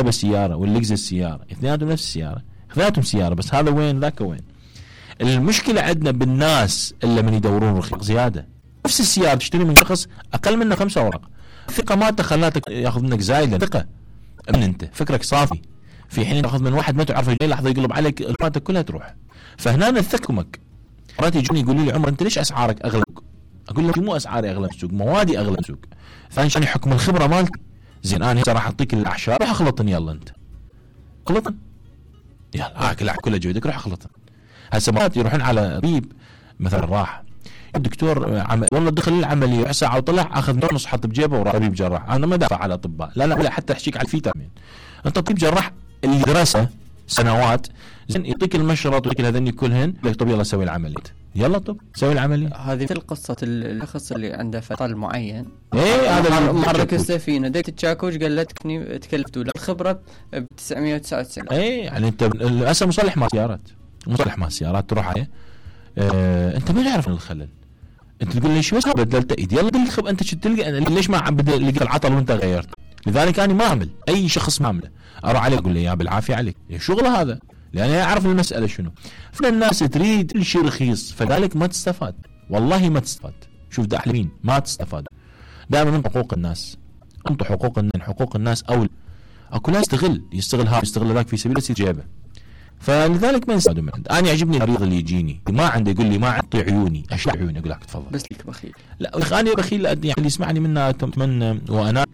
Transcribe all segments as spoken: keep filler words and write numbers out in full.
الهايبر سياره واللكزس سياره، اثنيناتهم نفس السياره، اثنيناتهم سياره، بس هذا وين ذاك وين. المشكله عندنا بالناس اللي من يدورون رخيص زياده. نفس السياره تشتري من شخص اقل منه خمسة اوراق، الثقه مالته خلاتك ياخذ منك زايده ثقه من انت فكرك صافي، في حين ياخذ من واحد ما تعرف اي لحظه يقلب عليك الماتك كلها تروح. فهنا الثقمك. مرات يجوني يقولوا لي عمر انت ليش اسعارك اغلى؟ اقول لك مو اسعاري اغلى بالسوق، موادي اغلى بالسوق. ثاني شيء حكم الخبره مالتي. زين انا هسه راح اعطيك الاعشاب، روح اخلطن يلا انت. اخلطن. يلا اكل كله جودك روح اخلطن. هسه مرات يروحون على طبيب مثلا راح الدكتور عم... والله دخل العمليه ساعه وطلع اخذ نص حط بجيبه وراح طبيب جراح. انا ما دافع على الاطباء، لا لا لا حتى احكيك على الفيتامين. انت طبيب جراح اللي درسه سنوات زين يعطيك المشرط ويعطيك هذني كلهن، لك طب يلا سوي العمليه، يلا طب سوي العمليه. هذه مثل قصه الشخص اللي عنده فطل معين، ايه هذا محرك السفينه ديت التشاكوش قالتني تكلفت ولا الخبره ب تسعمية وتسعة وتسعين. ايه يعني انت هسه مصلح مال سيارات، مصلح مال سيارات تروح عليه اه انت ما تعرف الخلل، انت تقول لي شو بس بدلت ايدي يلا دل الخب انت شو تلقى ليش ما عم لقيت العطل وانت غيرت. لذلك انا ما اعمل اي شخص ما اعمله اروح عليه اقول له يا بالعافيه عليك شغله هذا، لان اعرف المساله شنو. فالناس تريد كل شيء رخيص فذلك ما تستفاد، والله ما تستفاد. شوف داحلين ما تستفاد. دائما من حقوق الناس انطوا حقوق الناس، حقوق الناس اول اكو ناس يستغل يستغل هذا يستغل ذاك في سبيل يصير جيبه. فلذلك ما يستفادوا من عند. انا يعجبني المريض اللي يجيني ما عنده يقول لي ما اعطي عيوني اشيل عيوني اقول لك تفضل بس لك بخيل. لا انا بخيل يعني اللي يسمعني منا من وانا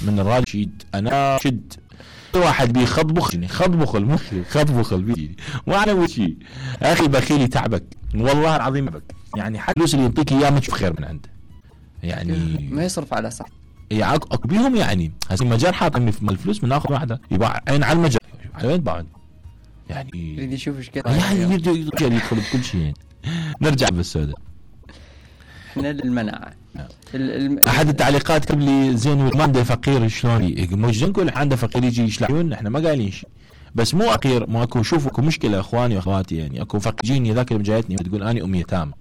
من الراشد انا شد واحد بيخضبخني خضبخل مخي خضبخل بيجي ما انا وشي اخي بخيل يتعبك والله العظيم بك يعني حتى الفلوس اللي يعطيك اياه ما تشوف خير من عنده يعني ما يصرف على صح يعني بيهم يعني هسه مجال حاط من الفلوس من ناخذ واحده يباع عين على المجال على وين بعد يعني يريد يشوف ايش كذا يعني يريد يدخل بكل شيء. نرجع بالسوداء احنا للمناعه الم... احد التعليقات قبل لي زين ما عنده فقير شلون مش نقول عنده فقير يجي يشلعون احنا ما قايلين شيء بس مو فقير ما اكو شوفوا اكو مشكله اخواني واخواتي يعني اكو فقيرين ذاك اللي جايتني تقول اني ام يتامى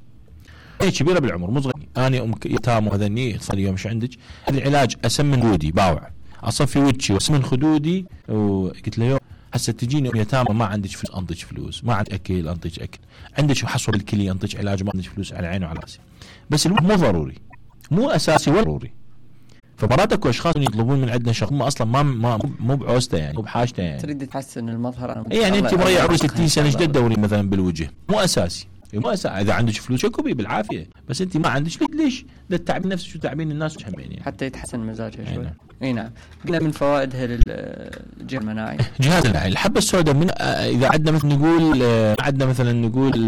هي كبيره بالعمر مو صغيره اني ام يتامى وهذني صار يوم ايش عندك هذا العلاج اسمن خدودي باوع اصفي وجهي واسمن خدودي وقلت له هسه تجيني ام يتامى ما عندك فلوس انطيك فلوس ما عندك اكل انطيك اكل عندك حصوه بالكليه انطيك علاج ما عندك فلوس على عيني وعلى راسي بس الوقت مو ضروري مو اساسي ولا ضروري. فمرات اكو اشخاص يطلبون من عندنا شغل ما اصلا ما ما مو بعوزته يعني مو بحاجته يعني تريد تحسن المظهر يعني انت مريح عمرك ستين سنه ايش تدوري مثلا بالوجه مو اساسي مو اساسي اذا عندك فلوس اكو بالعافيه بس انت ما عندك ليش ده التعبين نفسه شو تعبين الناس وش همين يعني حتى يتحسن مزاجها شوي. اي نعم قلنا من فوائدها للجهاز المناعي جهاز المناعي الحبه السوداء من اذا عندنا مثلا نقول عندنا مثلا نقول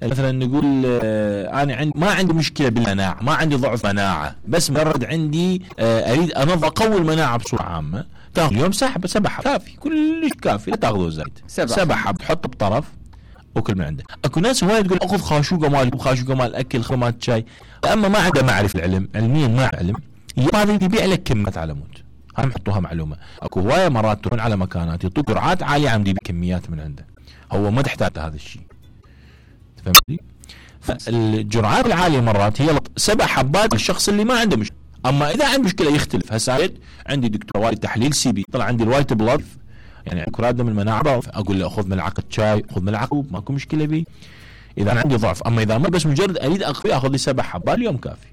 مثلا نقول آه انا عندي ما عندي مشكله بالمناعه ما عندي ضعف مناعه بس مجرد عندي آه اريد انظف اقوي المناعه بصوره عامه تاخذ اليوم سحب سبع حب كافي كلش كافي لا تاخذوا زايد سبع حب تحط بطرف وكل من عنده. اكو ناس وايد تقول اخذ خاشوقه مال خاشوقه مال اكل خمات شاي اما ما عنده معرفه العلم علميا ما علم هذا يبيع لك كميات على مود هم حطوها معلومه اكو هوايه مرات تروح على مكانات يعطوك جرعات عاليه عم يبيع كميات من عنده هو ما تحتاج هذا الشيء فهمتني؟ فالجرعات العاليه مرات هي سبع حبات للشخص اللي ما عنده مشكله اما اذا عنده مشكله يختلف. هسه عندي دكتور وايد تحليل سي بي طلع عندي الوايت بلاد يعني كرات دم المناعه اقول له خذ ملعقه شاي خذ ملعقه ماكو مشكله بي اذا أنا عندي ضعف اما اذا ما بس مجرد اريد اقوي اخذ لي سبع حبات اليوم كافي.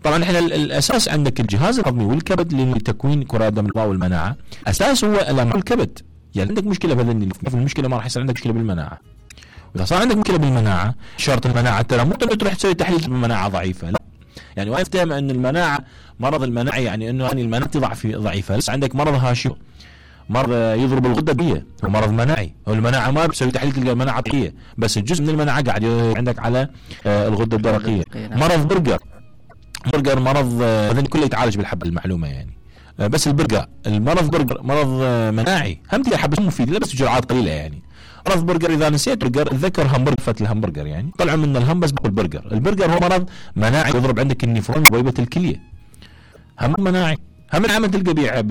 طبعا احنا الاساس عندك الجهاز الهضمي والكبد لتكوين كرات دم والمناعه اساس هو الكبد يعني عندك مشكله بهذني المشكله ما راح يصير عندك مشكله بالمناعه واذا صار عندك مشكله بالمناعه شرط المناعه ترى مو تروح تسوي تحليل بالمناعه ضعيفه لا يعني وايد تهم ان المناعه مرض المناعه يعني انه يعني المناعه ضعف ضعيفه بس عندك مرض هاشم مرض يضرب الغده الدرقيه هو مرض مناعي والمناعه ما بتسوي تحليل تلقى المناعه طبيعيه بس الجزء من المناعه قاعد عندك على الغده الدرقيه. مرض برجر برجر مرض هذا كله يتعالج بالحبه المعلومه يعني بس البرجر المرض برجر مرض مناعي هم تلقى حبه مفيد لا بس جرعات قليله يعني. مرض برجر اذا نسيت برجر اتذكر همبرجر فتل الهمبرجر يعني طلعوا من الهم بس باكل برجر. البرجر هو مرض مناعي يضرب عندك النفرون بويبه الكليه هم مناعي هم العمل تلقى بيع